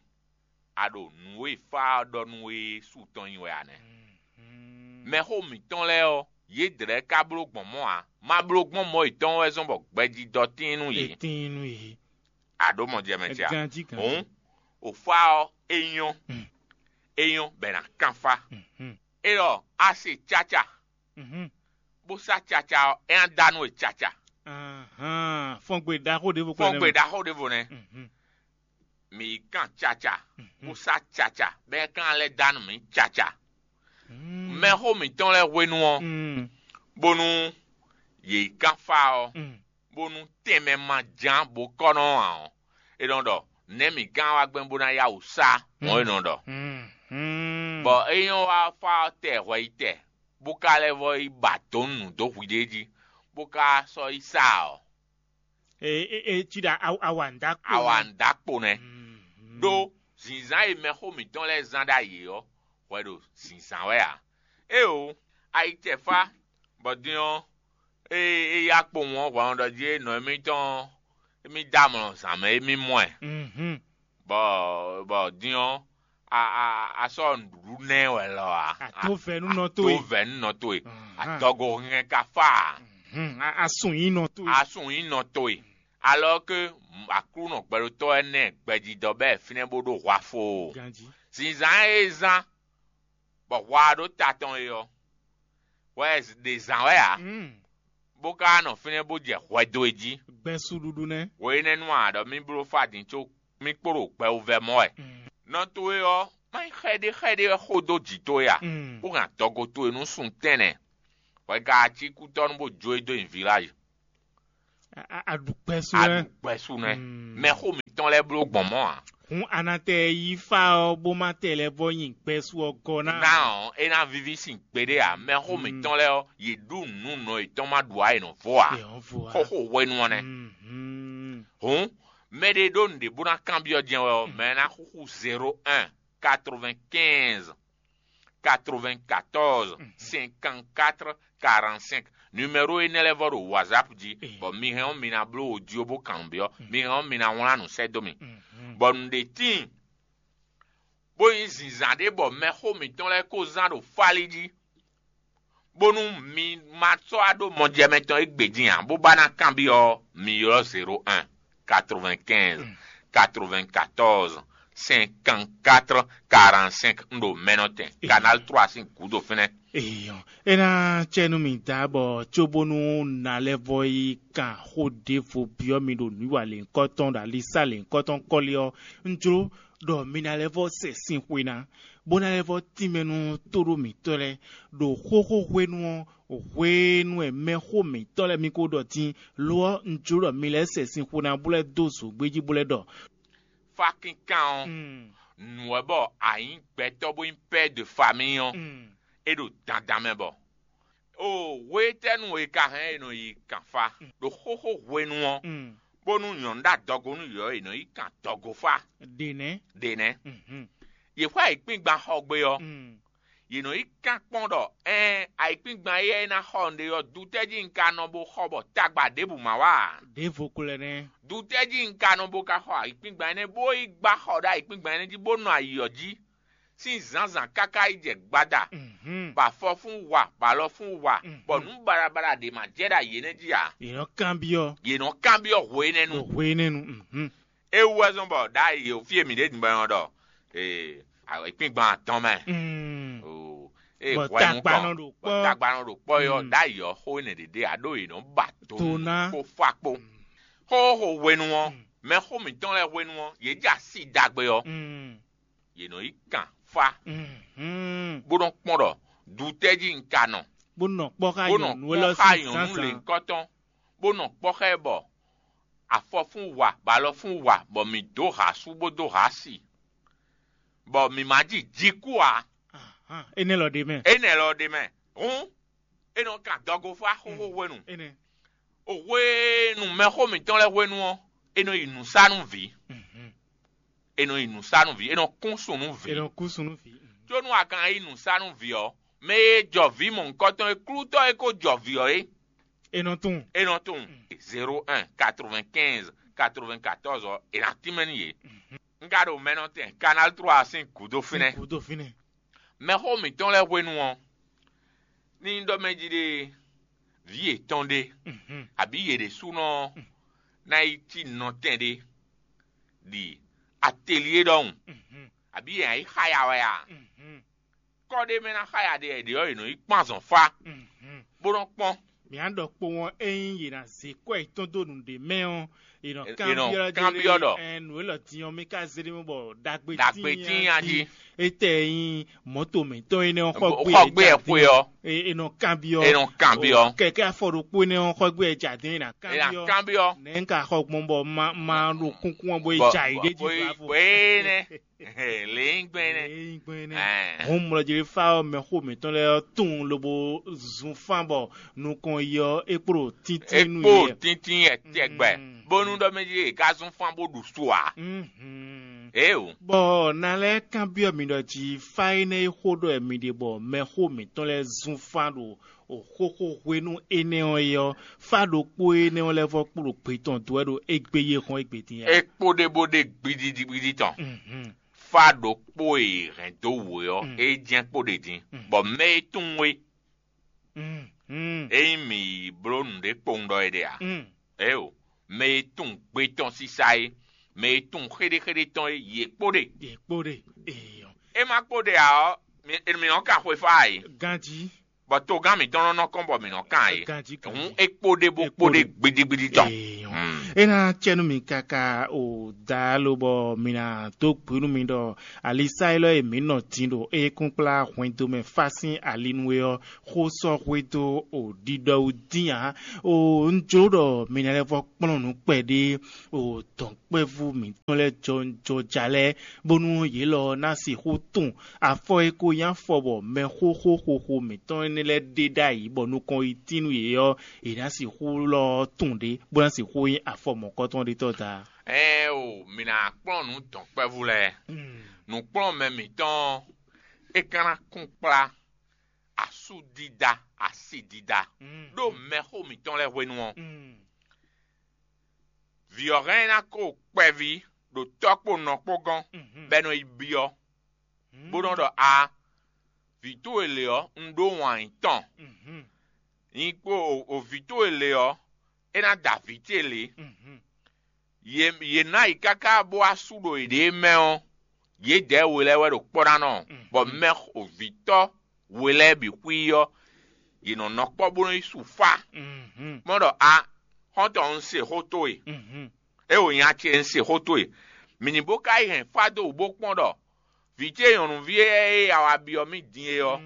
a ɖo nǔ e fá ɔ́ ɖɔ nú we é su tɔn nyi wɛ ǎ nɛ́. Mɛxó mǐtɔn lɛ́ɛ ɔ́, yědɛɛ ka bló gbɔn mɔ̌ ǎ. Ma bló gbɔn mɔ̌ yětɔn wɛ zɔ́n bɔ gbɛjidɔ tíin nú yě. Tíin nú yě. A ɖǒ mɔ jɛ mɛ ce a? Ganjí ganjí. Hǔn, òfá ɔ́, é nyɔ́. É nyɔ́ bɔ è nǎ kánfá. É ɖɔ a se caca, bó sá caca ɔ́, é ná dá nú we caca. Ahán, fɔngbe ɖaxó ɖěvo kpɛɖé. Fɔngbe ɖaxó ɖěvo nɛ́. Mǐ yi kan caca, kúsá caca, bɔ é kan lɛ́ dó anu mǐ caca. Mɛxó mǐtɔn lɛ́ɛ hwenu ɔ́, bónú yě yi kan fá ɔ́, bónú tɛnmɛ ma ján bó kɔ́ nɔ ǎ ɔ́, é nɔ ɖɔ nɛ̌ mǐ gán wá gbɛn bó ná yá wǔ sá mɔ̌ é nɔ ɖɔ. Bɔ é nyɔ́ wá fá ɔ́ tɛ hwɛ yi tɛ, bó ka lɛ́ vɔ yi ba dǒ nǔ dó hwiɖée jí, bó ka sɔ́ yi sá ɔ́. E e e ci ɖa awa ŋda kpo. Awa ŋda kpo nɛ. Ɖó zinzán e mɛxó mǐtɔn lɛ́ɛ zán ɖ'ayǐ ɔ́, hwɛ ɖo zinzán wɛ ǎ. Éeǒ, ayicɛ́fá, bɔ din ɔ́, ée é yá kpowun ɔ́, hwɛhwɛ́nɔ jí é nɔ émítɔn ɔ́, émí dó amlɔ zǎn mɛ émí mɔ ɛ. Bɔ bɔ din ɔ́, a a a sɔ́ nǔɖuɖu nɛ wɛ lɔ ǎ. Atovɛ nú nɔ towe. Atovɛ nú nɔ towe. Adɔgo hɛn ka fá ǎ. A sun yín nɔ towe. A sun yín nɔ towe. Alɔ ke Aklúnɔ gbɛɖotɔ́ ɛnɛ gbɛjidɔ bɛ́ fínɛ́ bó ɖó hwa foo. Ganjí. Zinzán e zán bɔ hwa ɔ́ ɖó ta tɔn é ɔ́, wɛ ɖe zǎn wɛ ǎ, bó ka nɔ fínɛ́ bó jɛ hwɛ dó e jí. Gbɛn suɖuɖu nɛ́. Hwe énɛ́ nu a ɖɔ mì bló fá din có mì kpo ɖo gbɛwuvɛ mɔ wɛ. Nɔ towe ɔ́, Má nyí xɛɖé xɛɖé wɛ xó dó jǐ towe a? Mm. Bó hɛn adɔgo towe nú sun tɛnɛ, bɔ è ka cí kútɔ́nú bó jó e dó nyi vilage. A- a- a ɖu kpɛsú lɛ. Aɖu gbɛsú nɛ. Mm. Mɛxó mǐtɔn lɛ́ɛ bló gbɔn mɔ̌ ǎ. Hǔn a nǎ tɛ yí fá ɔ́ bó má tɛ lɛ́ vɔ nyi kpɛsú ɔ́ gɔ́ ná. Ná ɔ́, é ná víví sin gbeɖé ǎ. Mɛxó Mm. Mǐtɔn lɛ́ɛ ɔ́, yě ɖu nǔ nɔ yětɔn má ɖu ǎ, è nɔ vo ǎ. È nɔ vo ǎ. Xóxó hwenu ɔ́ nɛ́. Mhm. Hǔn, mɛ ɖé ɖó nǔɖé bó ná kanbyɔ́ jɛ́n wɛ ɔ́, Mm. mɛ ná xúxú zéro un, quatre-vingt-quinze, quatre-vingt-quatorze, cinquante-quatre, quarante-cinq. Numéro énɛ́ lɛ́ɛ vɔ ɖo WhatsApp jí, Eh. Bɔ mi hɛn ɔ́, mi ná bló wǒ jí ó bó kanbyɔ́. Mi hɛn ɔ́, mi ná wlán nǔ sɛ́ dó mì. Mhm. Bɔ nǔɖé tíin, bó nyí zǐnzán ɖé bɔ mɛxó mǐtɔn lɛ́ɛ ko zán ɖo fálí jí, bónú mi ma sɔ́ wá ɖó mɔjɛmɛ tɔn égbé din ǎ, bó ba ná kanbyɔ́ ɔ́, mi ylɔ́ zéro un, quatre-vingt-quinze, quatre-vingt-quatorze, cinquante-quatre, quarante-cinq. Un ɖo mɛnɔtɛn, Canal trois sín gǔdo fínɛ́. Eyɔ, é ná cɛ nú mi da bɔ cóbónú nalɛ́vɔ yi kan xó ɖěvo byɔ́ mi ɖo nǔ yi wa lěhunkɔtɔn ɖo alisá lěhunkɔtɔn kɔ́li ɔ́, un jló ɖɔ mi ná lɛ́ vɔ sɛ sin xwe ná, bó ná lɛ́ vɔ tínmɛ nú tóɖó mǐtɔn lɛ́ɛ ɖo xóxó hwenu ɔ́, hwenu e mɛxó mǐtɔn lɛ́ɛ mi ko ɖɔ din. Lo ɔ́, un jló ɖɔ mi lɛ́ sɛ sin xwe ná bó lɛ́ dó zǒgbé jí bó lɛ́ ɖɔ. Fá kínkán ɔ́, nǔ wɛ bɔ a nyǐ gbɛtɔ́ bó nyí père de famille ɔ́, é ɖo dandan mɛ bɔ. O hwe tɛ́nu e ka hɛn e nɔ yi kan fa ɖo xóxó hwenu ɔ́, bónú nyɔ̌nu ɖo adɔgo nú yě ɔ́, è nɔ yi kan dɔgo fá. Ɖě nɛ́. Ɖě nɛ́. Yě xɔ ayǐkúngban xɔ gbé ɔ́, yě nɔ yi kan kpɔ́n ɖɔ ɛɛn ayǐkúngban éyɛ́ é ná xɔ nǔɖé ɔ́, dutɛ́ jí un ka nɔ bo xɔ bɔ tagba ɖěbǔ ma wá ǎ? Ɖěvo ko lɛ́ nɛ́. Dutɛ́ jí un ka nɔ bo ka xɔ ayǐkúngban énɛ́ bó yi gbá xɔ ɖó ayǐkúngban énɛ́ jí bó nɔ ayǐ ɔ́ jí sín zǎnzǎn káká yi jɛ gbada, bɔ afɔfún wa, bɔ alɔfún wa, bɔ nǔ baɖabaɖa ɖě ma jɛ ɖo ayǐ énɛ́ jí ǎ. Yě nɔ kanbyɔ́. Yě nɔ kanbyɔ́ hwe énɛ́ nu. Hwe énɛ́ nu. É wú wɛ zɔ́n bɔ ɖ'ayǐ o fí e mǐ ɖe din bɔ è nɔ ɖɔ ee, ayǐkúngban atɔn mɛ. Oo, ee Bɔ hwɛ tagba nukɔn, nɔ ɖo bɔ kpɔ́. Tagba nɔ ɖo kpɔ́ é ɔ́, ɖ'ayǐ ɔ́, xó énɛ́ ɖě ɖe ǎ ɖó yě nɔ ba to To nú ná. Kpó fá kpó. Xóxó hwenu ɔ́, mɛxó mǐtɔn lɛ́ɛ hwenu ɔ́, yě jɛ asi ɖagbe ɔ́, yě nɔ yi kan fá, bó nɔ kpɔ́n ɖɔ dutɛ́ jí un ka nɔ, Bó nɔ kpɔ́ xá bó nɔ nyɔ̌nu kpɔ́n élɔ́ xá sín nyɔ̌nu zǎnzǎn. Lěhunkɔtɔn, bó nɔ kpɔ́ xá ɛ bɔ afɔfún wa, bɔ alɔfún wa, bɔ mǐ dó ha sú bó dó ha si, bɔ mǐ ma ji jikú ǎ. Énɛ́ lɔ ɖ'é mɛ. Énɛ́ lɔ ɖ'é mɛ. Hǔn, é nɔ kan dɔgo fá xóxó hwenu. Énɛ́. O hwenu mɛxó mǐtɔn lɛ́ɛ hwenu ɔ́, é nɔ yi nǔ sa nú vǐ. É nɔ yi nǔ sa nú vǐ, é nɔ kún sun nú vǐ. È nɔ kú sun nú vǐ. Có nú a ka yi nǔ sa nú vǐ ɔ́, mɛ e jɔ vǐ mɔ̌hunkɔtɔn e klútɔ́ e ko jɔ vǐ ɔ́ é, È nɔ tunwun. É nɔ tunwun. Zéro un, quatre-vingt-quinze, quatre-vingt-quatorze ɔ́, è nǎ tínmɛ nú yě. Un ka ɖo mɛnɔtɛn Canal trois sín gǔdo fínɛ́. Gǔdo fínɛ́. Mɛxó mǐtɔn lɛ́ɛ hwenu ɔ́, ní nyí ɖɔ mɛ jí ɖe vǐ yětɔn ɖé, abǐ yě ɖésúnɔ ná yi cí nɔtɛn ɖé ɖi atelier ɖɔhun, abǐ yě ná yi xá ya wɛ a? Kɔ́ ɖé mɛ ná xá ya ɖe wɛ ɖě ɔ́, è nɔ yi kpɔ́n azɔn fá, bó nɔ́ kpɔ́n. Mǐ á ɖɔ kpowun ɔ́, ényí yě ná zé kwɛ́ yětɔn dó nǔɖé mɛ ɔ́, è nɔ È- è nɔ kanbyɔ́ kanbyɔ́ ɖɔ. Ɛn, nǔ élɔ́ din ɔ́, mì ka zé ɖé mɔ bɔ ɖagbe Ɖagbe tíin tíin a a jí. Jí. Étɛ́ nyí mɔ̌to mǐtɔn énɛ́ ɔ́ xɔ Xɔ gbé gbé ɛ ɛ xwe ɔ́. È nɔ kanbyɔ́. È nɔ kanbyɔ́. Kɛkɛ afɔ ɖokpó énɛ́ ɔ́ xɔ gbé ɛ jadɛn è nǎ È nǎ kanbyɔ́. Kanbyɔ́. Nɛ̌ un ka xɔ gbɔn bɔ ma ma ɖo kúnkún ɔ́ bó yi Bɔ- ja yě ɖé jí bɔ- bɔ- bɔ énɛ́. Lě nyí gbɛn énɛ́. Lě nyí gbɛn énɛ́. Ɛɛ. Hɔn mlɔjɛlífá ɔ́, mɛxó mǐtɔn lɛ́ɛ ɔ́ tunwun lobo zun fán bɔ nukɔn yi ɔ́, é kpo ɖo tíntín nú Ekpo yě. Tíntín yɛ tɛgbɛ. Mm. Bónú ɖɔ mɛ jí è ká zún fán bó ɖu su ǎ. Mhm. Éeǒ. Bɔ na lɛ́ɛ kanbyɔ́ mi ɖɔ jí fá énɛ́ e xó ɖɔ wɛ mi ɖe bɔ mɛxó mǐtɔn lɛ́ɛ zún fán ɖo xóxó hwenu énɛ́ ɔ́ é ɔ́, fá ɖokpó énɛ́ ɔ́ lɛ́ɛ vɔ kpo ɖo gbe tɔn dó wɛ ɖo égbé yi e hɔn égbé din ɔ́. É kpo ɖé bó ɖe gbidigbidi tɔn. Mhm. Fá ɖokpó e è hɛn dó wǔ é ɔ́, Mm. é jɛ́n kpo ɖe din, Mm. bɔ mɛ e tunwun é, Mm. Mm. ényí mǐ yi bló nǔɖé kpowun ɖɔ é ɖe ǎ. Mm. Éeǒ, mɛ e tunwun gbe tɔn sísá é, mɛ e tunwun xéɖéxéɖé tɔn é, yě kpo ɖe. Yě kpo ɖe. Eyɔ. É ma kpo ɖe ǎ ɔ́, mǐ mǐ nɔ kan xwefá ǎ é. Ganjí. Bɔ togán mǐtɔn nɔ nɔ kɔn bɔ mǐ nɔ kan ǎ é. Ganjí, ganjí. Hǔn é kpo ɖe bó É kpo kpo ɖe ɖe. Gbidigbidi tɔn. Eyɔ. Hmm. É ná cɛ nú mi káká o da lobɔ mi ná dó gbe nú mi ɖɔ alisá élɔ́ e mǐ nɔ din ɖo ékúnkplá hwɛndo mɛ fá sín ali nu é ɔ́, xó sɔ́ xwedó o ɖiɖɔ wú dín ǎ. O un jló ɖɔ mi ná lɛ́ vɔ́ kplɔ́n nǔ kpɛɖé o dɔ̌nkpɛvú mǐtɔn lɛ́ɛ jɔjɔja lɛ́ɛ, bónú yě lɔ ná sixú tunwun afɔ e ko nyí afɔ bɔ mɛxóxó xoxo mǐtɔn énɛ́ lɛ́ɛ ɖe ɖ'ayǐ bɔ nukɔn yi tín nú yě ɔ́, è nǎ sixú lɔ tunwun ɖě, bó ná sixú nyí afɔ mɔ̌kɔtɔn ɖé tɔ́ ta. Ɛɛn o, mǐ ná kplɔ́n nǔ dɔ̌nkpɛvú lɛ́ɛ. Nǔkplɔ́nmɛ mǐtɔn ɔ́, é ka ná kún kplá asúdídá, asidídá ɖó mɛxó mǐtɔn lɛ́ɛ hwenu ɔ́. Vǐ ɔ́ hɛn ná kó kpɛví ɖo tɔ́ kpó nɔ kpó gɔ́n, bɔ é nɔ yi byɔ́, bó nɔ́ ɖɔ: "A, vǐ towe lě ɔ́, un ɖó wǎn nyi tɔn. Nyi kpó o vǐ towe lě ɔ́, é ná da vǐ ce lě." Yě yě ná yi káká bó wá sú ɖo yěɖée mɛ ɔ́, yědɛɛ we lɛ́ɛ wɛ ɖo kpɔ́ ná nɔ, bɔ mɛ ovǐtɔ́ we lɛ́ɛ bǐ xwí ɔ́, yě nɔ nɔ kpɔ́ bó nɔ́ yi su fá. Mɔ ɖɔ: "A, xɔ́ntɔn, un se xó towe, é wǒ nya ce un se xó towe." Mǐ ní bó ka yi hɛn fá dó wǔ bó kpɔ́n ɖɔ vǐ ce nyɔ̌nuví e a wá byɔ́ mì din é ɔ́,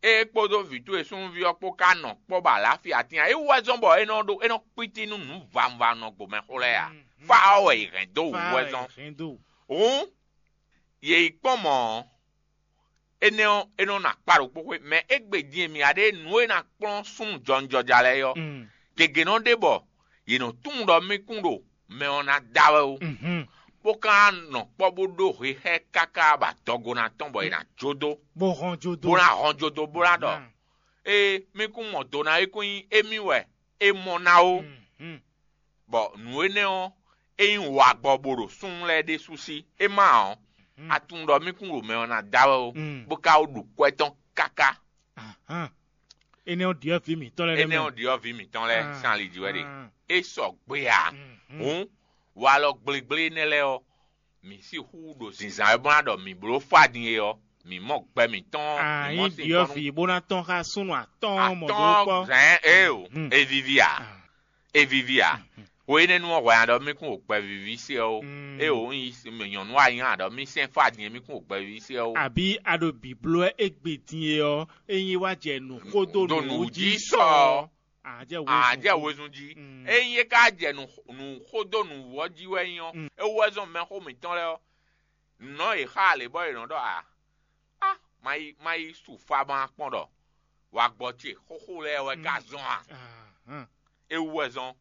é kpódó vǐ towe súnnuví ɔ́ kpó ka nɔ kpɔ́ bɔ alǎfia tínnya. É wú wɛ zɔ́n bɔ é nɔ ɖó é nɔ kpítí nú nǔ vawunvawun nɔ gbomɛxó lɛ́ɛ ǎ. Fá ɔ́ wɛ è hɛn dó wǔ wɛ zɔ́n. Hǔn, yě yi kpɔ́n mɔ̌ ɔ́, énɛ́ ɔ́, é nɔ nɔ akpá ɖokpó xwé, mɛ égbé din e mǐ ya ɖe nǔ e ná kplɔ́n súnnu jɔwunjɔja lɛ́ɛ é ɔ́, gěgé nɔ ɖe bɔ yě nɔ tunwun ɖɔ mì kún ɖo mɛ ɔ́ ná da wɛ ó, bó ka nɔ kpɔ́ bó ɖó hexɛ́ káká bɔ adɔgo ná tɔn bɔ è nǎ jó dó, bó hɔn jó dó. Bó ná hɔn jó dó, bó ná ɖɔ: "Ee, mì kún mɔ do ná é kún nyí émí wɛ é mɔ ná ó." Bɔ nǔ énɛ́ ɔ́, é nyí wagbɔ bó ɖo súnnu lɛ́ɛ ɖésú sí. É má ɔ́, a tunwun ɖɔ mì kún ɖo mɛ ɔ́ ná da wɛ ó, bó ka wó ɖu kwɛ́ tɔn káká. Énɛ́ ɔ́ ɖiɔ́ vǐ mǐtɔn lɛ́ɛ Énɛ́ ɔ́ ɖiɔ́ vǐ mǐtɔn lɛ́ɛ sín ali jí wɛ ɖe. É sɔgbe ǎ. Hǔn, walɔ gblégblé énɛ́ lɛ́ɛ ɔ́, mǐ sixú ɖo zǐnzán wɛ bó ná ɖɔ mǐ bló fá din é ɔ́, mǐ mɔ gbɛ mǐtɔn, mǐ mɔ sin ɖiɔ́ vǐ bó ná tɔ́n xá súnnu atɔ́ɔ́n mɔ dó kpɔ́. Zɛ̌n é o, é víví ǎ. É víví ǎ. Hwe énɛ́ nu ɔ́, hwɛ nya ɖɔ mì kún ɖo gbɛvíví se ɔ́ ó. É o, un yi nyɔ̌nu a nyi a ɖɔ mì sɛn fá din é mì kún ɖo gbɛvíví se ɔ́ ó. Àbí a ɖo bǐbló wɛ égbé din e ɔ́, ényí é wá jɛ nǔ xó dó nǔ jí sɔ ɔ́, à jɛ wezun jí. Ényí é ka jɛ nǔ xó dó nǔ ɔ́ jí wɛ nyí ɔ́, é wú wɛ zɔ́n mɛxó mǐtɔn lɛ́ɛ ɔ́, nǔ nɔ yě xá alě bɔ yě nɔ ɖɔ a a má yi má yi su fá má kpɔ́n ɖɔ wagbɔ ce xóxó lɛ́ɛ wɛ ka zɔn a? É wú wɛ zɔ́n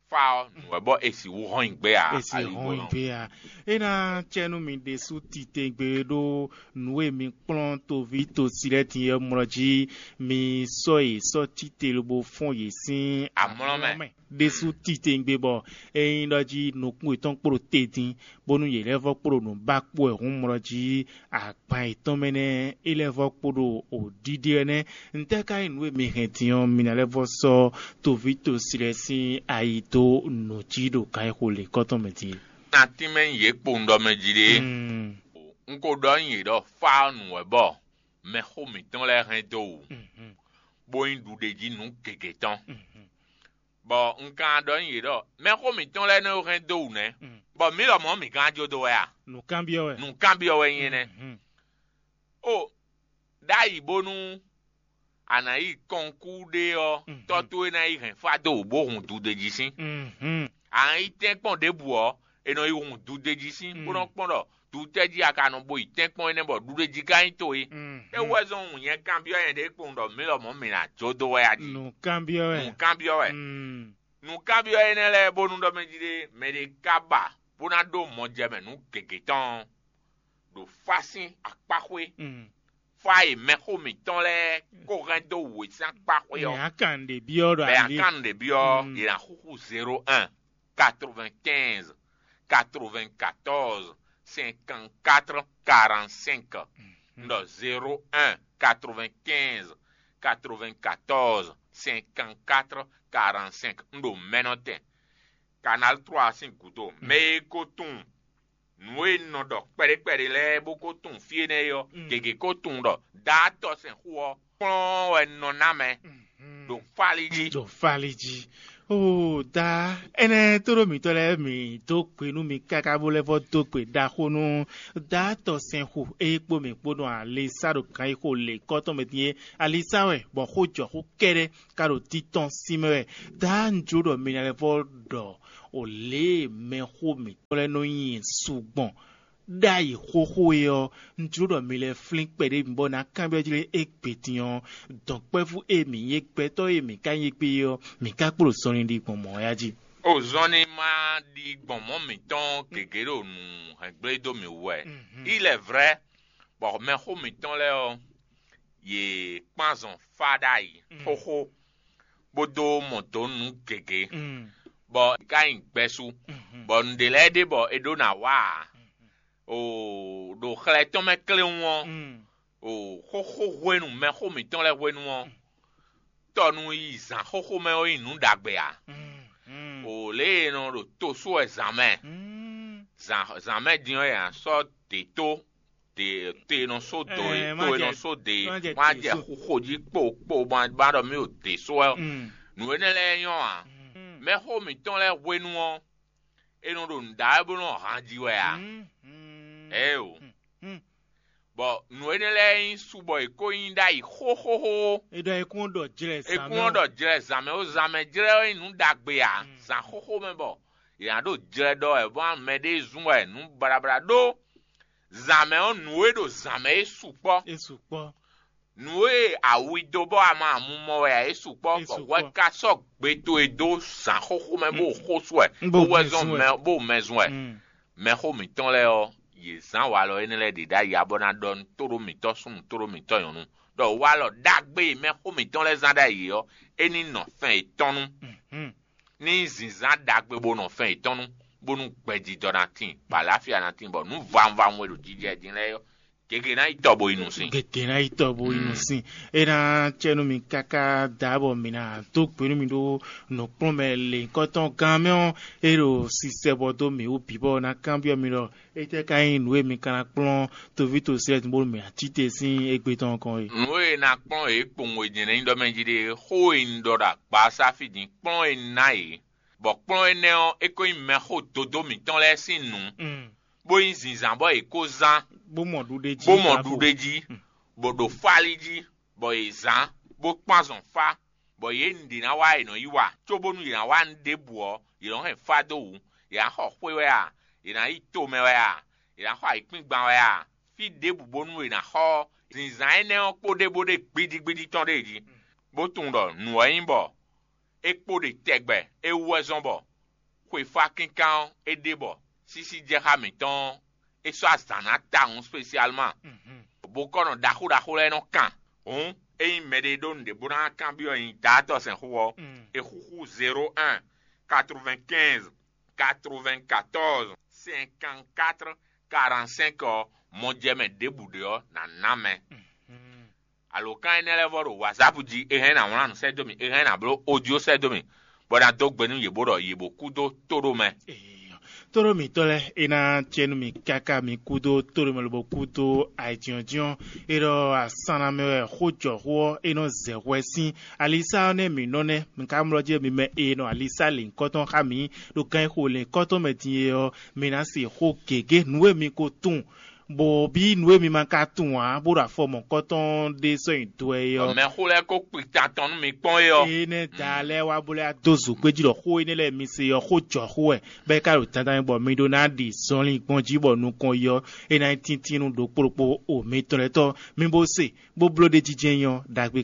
fá ɔ́ nǔ wɛ bɔ è sixú hɔn nyi gbé a? È sixú hɔn nyi gbé a? É ná cɛ nú mi ɖésú titewungbe ɖó nǔ e mi kplɔ́n toví tosi lɛ́ɛ din ɔ́ mlɔ jí, mi sɔ́ yě sɔ́ cíte lobo fɔ́n yě sín amlɔ mɛ. Ɖésú titewungbe bɔ é nyí ɖɔ jí nukún yětɔn kpo ɖo te din, bónú yě lɛ́ vɔ́ kpo ɖo nǔ ba kpó wɛ hǔn mlɔ jí agban yětɔn mɛ nɛ́ é lɛ́ vɔ́ kpo ɖo wǒ ɖiɖe wɛ nɛ́. Ntɛ́ ka nyí nǔ e mi hɛn din ɔ́, mi ná lɛ́ vɔ́ sɔ́ toví tosi lɛ́ɛ sín ayi dó nǔ jí ɖo kan e xo lě kɔ́tɔn mɛ din é? Nátínmɛ nyí yě kpowun ɖɔ mɛ jí ɖe. Un ko ɖɔ nyi yě ɖɔ fá ɔ́ nǔ wɛ bɔ mɛxó mǐtɔn lɛ́ɛ hɛn dó wǔ, bó nyí ɖuɖejí nǔ gěgé tɔn. Bɔ un ka ɖɔ nyi yě ɖɔ mɛxó mǐtɔn lɛ́ɛ nɔ hɛn dó wǔ nɛ́, bɔ mǐ lɔmɔ̌ mǐ gán jó dó wɛ a? Nǔkanbyɔ́ wɛ. Nǔkanbyɔ́ wɛ nyí énɛ́. Ó, ɖ'ayǐ bónú a nǎ yi kɔnkú ɖé ɔ́, tɔ́ towe ná yi hɛn fá dó wǔ bó hun dudejí sín. A nǎ yi tɛ́nkpɔ́n ɖěbǔ ɔ́, è nɔ yi hun dudejí sín, bó nɔ́ kpɔ́n ɖɔ dutɛ́ jí a ka nɔ bo yi tɛ́nkpɔ́n énɛ́ bɔ ɖuɖejí ka nyí towe. É wú wɛ zɔ́n nyɛ kanbyɔ́ nyɛ ɖě kpowun ɖɔ mǐ lɔmɔ̌ mǐ ná jó dó wɛ a jí? Nǔkanbyɔ́ wɛ. Nǔkanbyɔ́ wɛ. Nǔkanbyɔ́ énɛ́ lɛ́ɛ bónú ɖɔ mɛ jí ɖé mɛ ɖé ka ba bó ná ɖó mɔjɛmɛ nǔ gěgé tɔn ɔ́, ɖo fá sín akpáxwé. Fá e mɛxó mǐtɔn lɛ́ɛ kó hɛn dó wǔ e sín akpáxwé ɔ́. Mɛ akan ɖě byɔ́ ɖɔ bɛ ali akan ɖě byɔ́ yě ná xúxú zéro un quatre-vingt-quinze quatre-vingt-quatorze cinquante-quatre quarante-cinq. Un ɖɔ zéro un quatre-vingt-quinze quatre-vingt-quatorze cinquante-quatre quarante-cinq. Un ɖo mɛnɔtɛn Canal trois sín gǔdo. Mɛ e ko tunwun nǔ e un nɔ ɖɔ kpɛɖé kpɛɖé lɛ́ɛ bó ko tunwun fí énɛ́ é ɔ́, gěgé ko tunwun ɖɔ daátɔ́ sɛn xó ɔ́ kplɔ́n wɛ un nɔ ná mɛ ɖo fálí jí. Ɖo fálí jí. Oo, da, énɛ́ tóɖó mǐtɔn lɛ́ɛ mǐ dó gbe nú mi káká bó lɛ́ vɔ́ dó gbe ɖaxó nú da tɔ sɛnxu e kpó mǐ kpó nɔ ali sá ɖo gǎnyixo lě kɔ́tɔn mɛ din é. Ali sá wɛ bɔ xó jɔ xó kɛ́ɖɛ́ ka ɖo títɔn sín mɛ wɛ. Da un jló ɖɔ mi ná lɛ́ vɔ́ ɖɔ o lě e mɛxó mǐtɔn lɛ́ɛ nɔ nyi su gbɔn ɖ'ayǐ xóxó é ɔ́, un jló ɖɔ mi lɛ́ flín kpɛɖé mi bɔ ná kanbyɔ́ jlé égbé din ɔ́, dɔ̌nkpɛ́vú e mǐ nyí é, gbɛtɔ́ e mǐ ka nyí égbé é ɔ́, mǐ ka kpo ɖo zɔnlin ɖi gbɔn mɔ̌ wɛ a jí. O zɔnlin ma ɖi gbɔn mɔ̌ mǐtɔn gěgé ɖo nǔ hɛngblédó mǐ wú wɛ. Il est vrai, bɔ mɛxó mǐtɔn lɛ́ɛ ɔ́, yě kpán zɔn fá ɖ'ayǐ xóxó, bó dó mɔ dǒ nǔ gěgé, bɔ è ka nyi gbɛ́sú, bɔ nǔɖé lɛ́ɛ ɖe bɔ è ɖó ná wa ǎ. O ɖo xlɛ tɔn mɛ kléwún ɔ́, o xóxó hwenu mɛxó mǐtɔn lɛ́ɛ hwenu ɔ́, tɔnu yi zǎn xóxó mɛ ɔ́ nyí nǔ ɖagbe ǎ. O lě e è nɔ ɖo to sú wɛ zǎn mɛ, zǎn mɛ din ɔ́ è nǎ sɔ́ dě tó, dě to e nɔ só dǒ e to e nɔ só dě e má jɛ xuxo jí kpo kpo ma ɖɔ mì ɖo dě só wɛ. Nǔ énɛ́ lɛ́ɛ nyɔ́ ǎ. Mɛxó mǐtɔn lɛ́ɛ hwenu ɔ́, è nɔ ɖo nǔ ɖa wɛ bó nɔ han ji wɛ ǎ. Ɛɛ o. Bɔ nǔ énɛ́ lɛ́ɛ nyí su bɔ è ko nyí ɖ'ayǐ xóxóxó. È ɖɔ è kún ɖɔ jlɛ zǎn mɛ. È kún ɖɔ jlɛ zǎn mɛ ó, zǎn mɛ jlɛ ɔ́ nyí nǔ ɖagbe ǎ. Zǎn xóxó mɛ bɔ è nǎ ɖo jlɛ ɖɔ wɛ bɔ mɛ ɖé zún wɛ nǔ blablá ɖó. Zǎn mɛ ɔ́, nǔ e ɖo zǎn mɛ é sukpɔ́. É sukpɔ́. Nǔ e awi dó bɔ a ma amu mɔ wɛ ǎ é sukpɔ́, bɔ hwɛ ka sɔ́ gbe towe dó zǎn xóxó mɛ bó xó sú wɛ, bó wɛ zɔn mɛ bó mɛ zun wɛ. Mɛxó mǐtɔn lɛ́ɛ ɔ́, yě zán walɔ énɛ́ lɛ́ɛ ɖě ɖ'ayǐ ǎ bɔ ná ɖɔ nú tóɖó mǐtɔn súnnu tóɖó mǐtɔn nyɔ̌nu ɖɔ walɔ ɖagbe e mɛxó mǐtɔn lɛ́ɛ zán ɖ'ayǐ ɔ́, é ní nɔ fɛn yětɔn nú. Ní zǐnzán ɖagbe bó nɔ fɛn yětɔn nú, bónú gbɛjijɔ ná tíin, bɔ aláfia ná tíin, bɔ nǔ vawunvawun e ɖo jijɛ din lɛ́ɛ ɔ́, gěgé ná yi tɔ bo yi nǔ sin. Gěgé ná yi tɔ bo yi nǔ sin. É ná cɛ nú mi káká da bɔ mi ná dó gbe nú mi ɖó nǔkplɔ́nmɛ lěnyíkɔtɔn gán mɛ ɔ́, é ɖo sisɛ bɔ dó mǐ wú bǐ bɔ ná kanbyɔ́ mi ɖɔ étɛ́ ka nyí nǔ e mi ka ná kplɔ́n toví tosɛ́ bónú mǐ ná cí te sín égbé tɔn kɔn é. Nǔ e ná kplɔ́n yě kpowun e nyɛ ná nyí ɖɔ mɛ jí ɖe, xó e un ɖɔ ɖo agbasáfí din kplɔ́n e un ná yě, bɔ kplɔ́n énɛ́ ɔ́, é ko nyí mɛxó dodó mǐtɔn lɛ́ɛ sín nǔ, bó nyí zǐnzán bɔ yě ko zán, bó mɔ ɖuɖe jí, bó mɔ ɖuɖe jí, bó ɖo fálí jí, bɔ yě zán, bó kpán azɔn fá, bɔ yě nǔɖé ná wa è nɔ yi wa, cóbónú yě ná wa nǔ ɖěbǔ ɔ́, yě nɔ hɛn fá dó wǔ. Yě ná xɔ xwé wɛ a? Yě ná yi tomɛ wɛ a? Yě ná xɔ ayǐkúngban wɛ a? Fí ɖěbǔ bónú è nǎ xɔ ɔ́, zǐnzán énɛ́ ɔ́ kpo ɖé bó ɖe gbídígbídí tɔn ɖé jí, bó tunwun ɖɔ nǔ ɔ́ nyí bɔ é kpo ɖe tɛgbɛ, é wú wɛ zɔ́n bɔ xwefá kínkán ɔ́ é ɖe bɔ sísí jɛ xá mǐtɔn ɔ́, é sɔ́ azǎn ná tawun spécialement. Bokɔ́nɔ ɖaxó ɖaxó lɛ́ɛ nɔ kan. Hǔn ényí mɛɖé ɖó nǔɖé bó ná kanbyɔ́ nyi daátɔ́ sɛn xó ɔ́, è xúxú zéro un quatre-vingt-quinze quatre-vingt-quatorze cinquante-quatre quarante-cinq ɔ́, mɔjɛmɛ ɖěbǔ ɖé ɔ́, nǎ ná mɛ. Alǒkan énɛ́ lɛ́ɛ vɔ ɖo WhatsApp jí, é hɛn ná wlán nǔ sɛ́ dó mì, é hɛn ná bló audio sɛ́ dó mì, bɔ ná dó gbe nú yě bó ɖɔ yě bó kú dó tóɖó mɛ. Tóɖó mǐtɔn lɛ́ɛ, é ná cɛ nú mì káká mi kú dó tóɖó mɛ lobo kú dó ayǐjínjɔ́n. É ɖɔ asán ná mɛ wɛ xó jɔ xó ɔ́, é nɔ zɛ hwɛ sín alisá ɔ́ nɛ́ mǐ nɔ nɛ́. Mi ka mlɔ́ jí mi mɛ e nɔ alisá lěnyíkɔ́tɔn xá mǐ ɖo gán e xo lěnyíkɔ́tɔn mɛ din é ɔ́, mi ná se xó gěgé nǔ e mi ko tunwun, bɔ bí nǔ e mi ma ka tunwun ǎ, bó ɖo afɔ mɔ̌kɔtɔn ɖé sɔ́ nyi do ɛ é ɔ́. Mɛxó lɛ́ɛ ko kpi tan tɔn nú mi kpɔ́n é ɔ́. Énɛ́ da lɛ́ɛ wá bó lɛ́ dó zǒgbéjí ɖɔ xó énɛ́ lɛ́ɛ mi se ɔ́, xó jɔ xó wɛ, bɔ é ka ɖo dandan bɔ mi ɖó ná ɖi zɔnlin gbɔn jí bɔ nukɔn yi ɔ́, é ná nyí tíntín nú ɖokpó ɖokpó o mitɔn lɛ́ɛ tɔ́. Mi bó se, bó bló ɖ'é jijɛ nyí ɔ́, ɖagbe